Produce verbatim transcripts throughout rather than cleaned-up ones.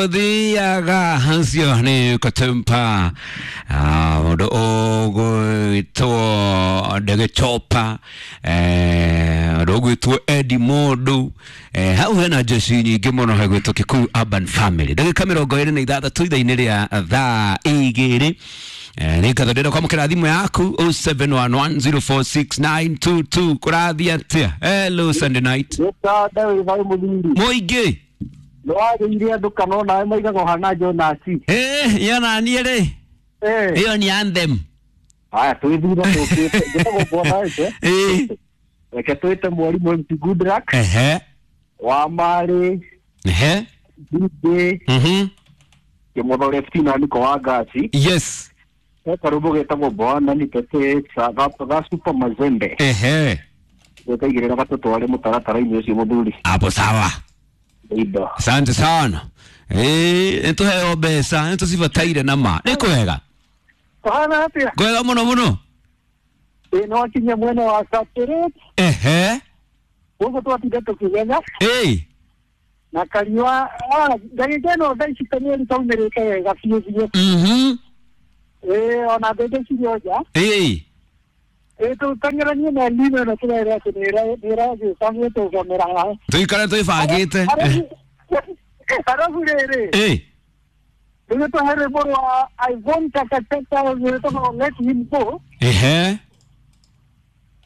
Tuthiaga hacio nĩ kũtumpa mũndũ ũgwĩtwo Ndegĩchopa, mũndũ ũgwĩtwo Eddie Mũndũ. Eh, hau hena jeshi nyingĩ mũno hegwĩtwo Kikuyu Urban Family. Ndagĩka mĩrongo ĩrĩ na ithathatũ ithaa-inĩ rĩa thaa igĩrĩ. Eh, nĩ ngatho ndĩrenda kwamũkĩra thimũ yaku oh seven one one zero four six nine two two. Kũrathiĩ atĩa? Hello, Sunday night. Gĩtanda wĩ thayũ mũthuri. Mũingĩ. Nĩwagĩire andũ kana onawe maigaga ũhana Jonasi. Eh, iyo naniĩ rĩ. Eh. Ĩyo ni anthem. Haya twĩthire tũkĩte. Njĩtagwo Bwana Wete. Eh. Reke twĩte mwarimũ M C Goodluck. Ehe. Wa Marĩ. Ehe. D J. Mhm. Kĩmotho Lefty na Niko wa Ngasi. Yes. He karũmbo getagwo Bwana Nitete ga ga Super Mazembe. Ehe. Gekaigĩrĩra gatũtware mũtaratara-inĩ ũcio mũthuri. Hapo sawa. Indo. Asante sana. Eh, nĩtũheo mbeca, nĩtũcibataire na ma. Nĩ kwega. Kũhana atĩa? Kwega mũno mũno. Ĩ nĩwakinyia mwena wa Kapteret. Ehe. Gũkũ twatinda tũkĩgetha. Ĩ. Na kariũa ah, ndagĩka ĩno thaa ici kamweri kaumĩrĩte wega biũ biũ. Mhm. Ĩ ona mbembe cirĩ o nja. Ĩ. Ĩ tũteng'eranie na Elnino ĩno tũrerwo atĩ nĩ ĩragĩũka gũtũgomera haha. Tũikare twĩbangĩte. Arabu rĩrĩ Ĩ. rĩu tũhe rwĩmbo rwa Ivon Takataka rwĩtagwo Let Him Go. Ehe.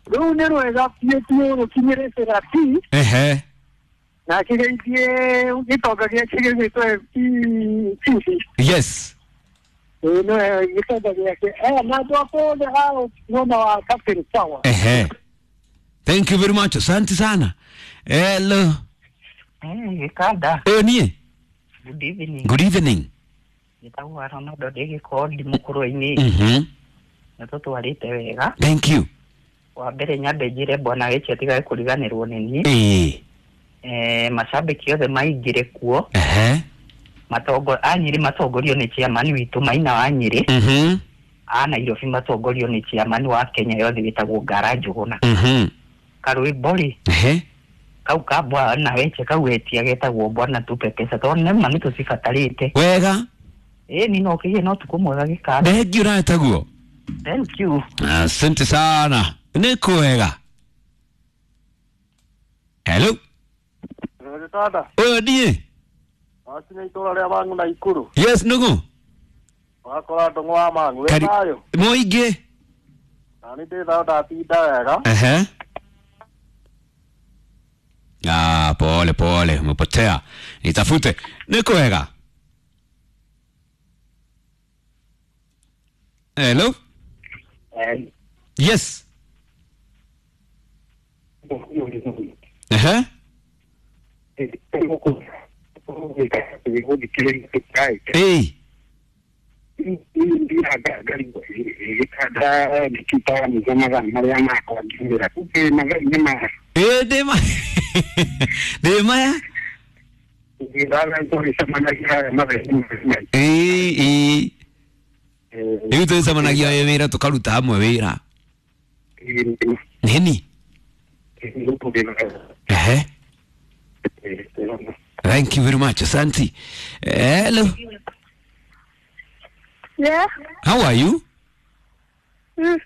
Rũu nĩ rwega biũ biũ rũkinyĩrĩte Rapi Ehe. na kĩgeithie gĩtonga gĩake gĩgwĩtwo M P Sisi. Yes. Ĩ nĩwe gĩtonga gĩake. Eh, na andũ akwa othe a mwena wa Kapteret sawa. Ehe. Thank you very much. Asante sana. Hello. Eh, Gĩkanda, Ĩ niĩ. good evening. Good evening. Njĩtagwo Ronaldo ndĩ Gĩkondi mũkũrwe-inĩ. Mhm. Nĩ tũtwarĩte wega. Thank you. Wa mbere nyambe njĩre bwana Gĩchi atigage kũriganĩrwo nĩ niĩ. Ĩ. Eh, macambĩki othe maingĩre kuo. Ehe. Matongo a Nyĩrĩ matongorio nĩ chairman witũ Maina wa Nyĩrĩ. Mhm. A Nairobi matongorio nĩ chairman wa Kenya yothe wĩtagwo Ngara Njũgũna. Mhm. Karwĩmbo rĩ, Ehe. kau ka bwana Weche kau wetia getagwo bwana tupe pesa tondũ nĩma nĩ tũcibatarĩte. Wega. Ĩ ni no kĩgĩe na ũtukũ mwega Gĩkanda. Thank you nawe. Thank you. Asante sana. Nĩ kwega. Hello. Gĩtanda. Ũyũ niĩ. Wakinya itũra rĩa Mang'u na Ikuru. Yes, nũgũ. Wakora ndũng'ũ wa Mang'u. Wĩ Kari- thayũ? Mũingĩ. Na nĩ ndĩ thayũ ndatinda wega. Ehe. Ah, pole pole, umepotea. Nitafute. Nĩ kwega. Hello. Yes. Ehe. Ĩ. Ĩ ndĩ ma. Ndĩ maya. Ĩ ĩ. Rĩu twĩcemanagia wĩ wĩra tũkaruta hamwe wĩra. Nini? Ehe. Thank you very much. Asante. Hello. Yeah. How are you? Mm.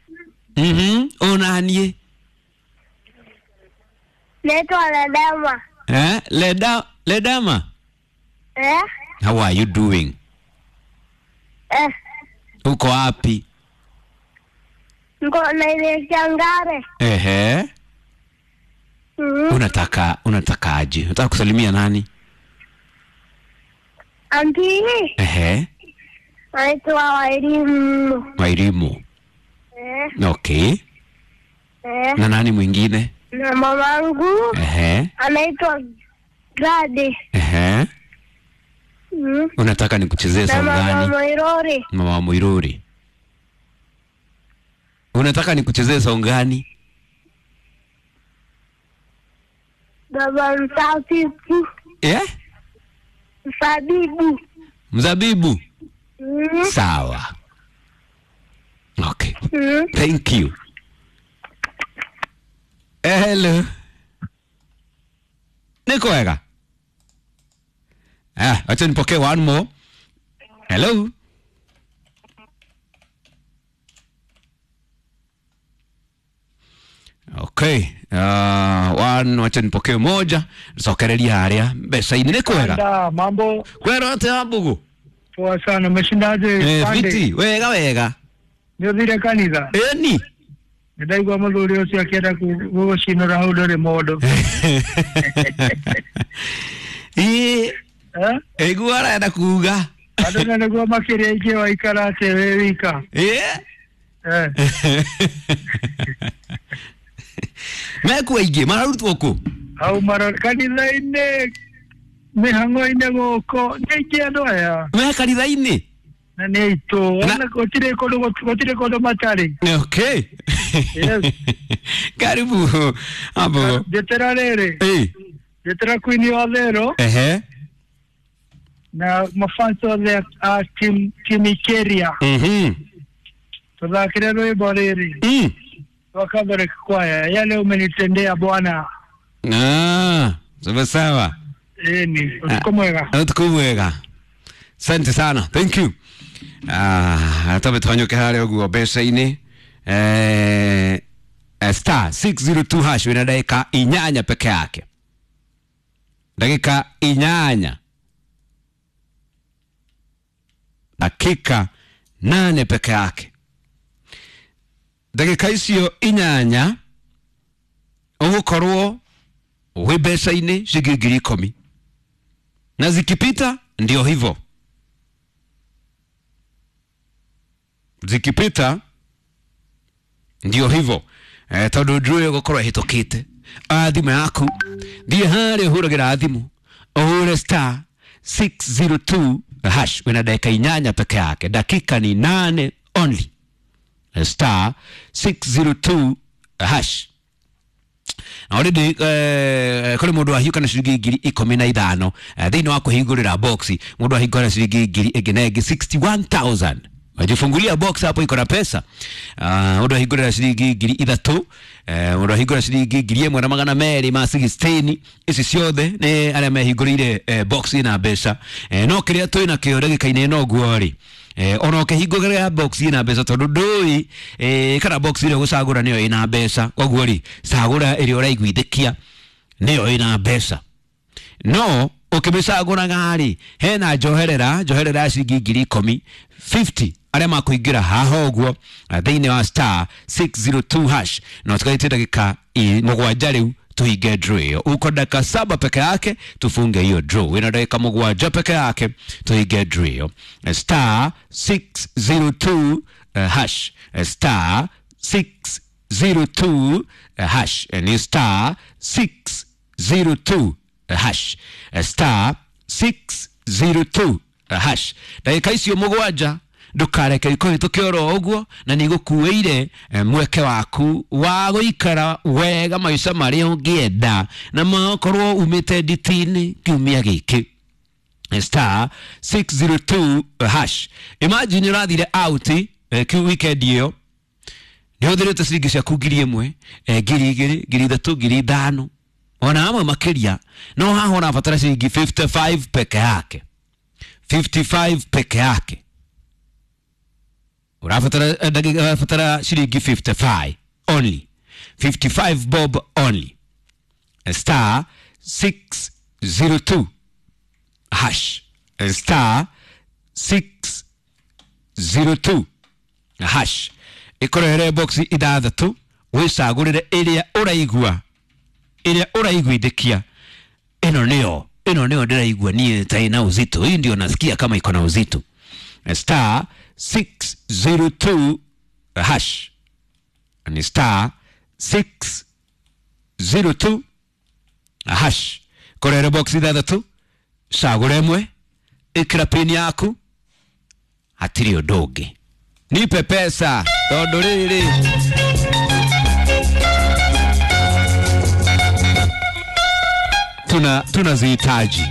Mhm. Unanie? Naitwa Ledama. Eh? Leda Ledama. Eh? How are you doing? Eh. Uko wapi? Niko naelekea Ngare. Ehe. Mm. Unataka unataka aje? Unataka kusalimia nani? Anti Ehe. anaitwa Wairimu. Wairimu. Eh. Okay. Eh. Na nani mwingine? Na mamangu Ehe. anaitwa Gadi. Ehe. Mm. Unataka nikuchezee Na song mama gani? Moirori. Mama Muiruri. Unataka nikuchezee song gani? Baba Msabibu. Eh? Msabibu. Mzabibu. Mm. Sawa. Okay. Mm. Thank you. Hello. Nĩ kwega. Ah, acha nipokee one more. Hello. Okay. Uh, one wacha nipokee moja. Sokereria haria mbeca-inĩ nĩ kwega. Da, mambo Kwero atia mbugu? poa sana. Umeshindaje? Eh, Pande? fiti, wega wega. Nĩũthire kanitha? Eni. Nĩndaigua mũthuri ũcio akĩenda kũ- gũgũcinũra hau ndũrĩ mũndũ. Ĩ, Eh? ĩguo arenda kuga. Andũ na nĩguo makĩria aingĩ waikara atĩ wĩ wika. Ĩ. Eh. Mekuo aingĩ mararutwo kũ? Hau maro kanitha-inĩ mĩhang'o-inĩ gũkũ nĩ aingĩ andũ aya Me kanitha-inĩ? na nĩ aitũ Na- Ona gũtirĩ kũndũ gũtirĩ kũndũ matarĩ. Okay. Yes. Karibu hapo. Njĩtĩra rĩrĩ, Eh. njĩtĩra Queen wa Thero Ehe. na mafans othe a team team Ikeria Mhm. tũthakĩre rwĩmbo rĩrĩ Mm. rwa Catholic Choir, yale umenitendea Bwana. Ah, sawa sawa. Ĩni, ũtukũ mwega. Utuku mwega. Asante sana. Thank you. Ah, tabe twanyuke harĩa ũguo mbeca-inĩ. Eh, eh, star six zero two hash wĩna ndagĩka inyanya peke yake. Ndagĩka inyanya. Dakika nane peke yake. Ndagĩka icio inyanya ũgũkorwo wĩ mbeca-inĩ ciringi ngiri ikũmi na zikipita ndio hivyo, zikipita ndio hivyo eh, tondu draw ĩyo ĩgũkorwo ĩhĩtũkĩte. Ah, thimũ yaku thiĩ harĩa ũhũragĩra thimũ ũhũre star six zero two hash wĩna dakika inyanya peke yake, dakika ni nane only. Star six zero two hash na already eh, kũrĩ mũndũ wahiũka na ciringi ngiri ikũmi na ithano eh, thĩinĩ wa kũhingũrĩra box mũndũ ahingũra ciringi ngiri ĩngĩ na ĩngĩ sixty one thousand wajifungulia box hapo iko na pesa. Ah, mũndũ ahingũrĩra ciringi ngiri ithatũ, eh, mũndũ ahingũra ciringi ngiri ĩmwe na magana merĩ ma sixteen. Ici ciothe nĩ arĩa mehingũrĩire eh, box ĩna mbeca. Eh, no kĩrĩa twĩ nakĩo ndagĩka-inĩ ĩno ũguo rĩ, eh, ona ũkĩhingũrĩra box ĩna mbeca tondũ ndũĩ eh, kana box ĩrĩa ũgũcagũra nĩyo ĩna mbeca, koguo rĩ cagũra ĩrĩa ũraiguithĩkia nĩyo ĩna mbeca. No ũkĩmĩcagũraga rĩ, hena njoherera njoherera ya ciringi ngiri ikũmi fifty arĩa makũingĩra haha ũguo eh, thĩinĩ wa star six zero two hash na ũtigarĩtie ndagĩka i- mũgwanja rĩu tuhinge draw ĩyo. Uko dakika saba peke yake tufunge hiyo draw. Wĩna ndagĩka mũgwanja peke yake tuhinge draw ĩyo. Eh, star six zero two eh, hash. Eh, star six zero two eh, hash. Eh, ni star six zero two eh, hash. Eh, star six zero two eh, hash. Ndagĩka icio mũgwanja ndũkareke ikũhĩtũke oro ũguo na nĩ igũkuĩire eh, mweke waku wa gũikara wega maica marĩa ũngĩenda na makorwo umĩte nditi-inĩ kiumia gĩkĩ. Star six zero two hash. Imagine ũrathire out eh, kiu weekend ĩyo nĩ ũhũthĩrĩte ciringi ciaku ngiri ĩmwe eh, ngiri igĩrĩ ngiri ithatũ ngiri ithano ona amwe makĩria, no haha ũrabatara ciringi fifty five peke yake, fifty five peke yake ũrabatara eh, ndagĩka ũrabatara ciringi fifty five only, fifty five bob only. Star six zero two hash. Star six zero two hash ĩkũrehere box ithathatũ wĩcagũrĩre ĩrĩa ũraigua ĩrĩa ũraiguithĩkia ĩno nĩyo ĩno nĩyo ndĩraigua niĩ ta ĩna uzito hii ndio nasikia kama iko na uzito. Star six zero two hash ni star six zero two hash kũrehere box ithathatũ cagũra ĩmwe ĩkĩra pin yaku hatirĩ ũndũ ũngĩ nipe pesa tondũ rĩrĩ tuna tunazihitaji.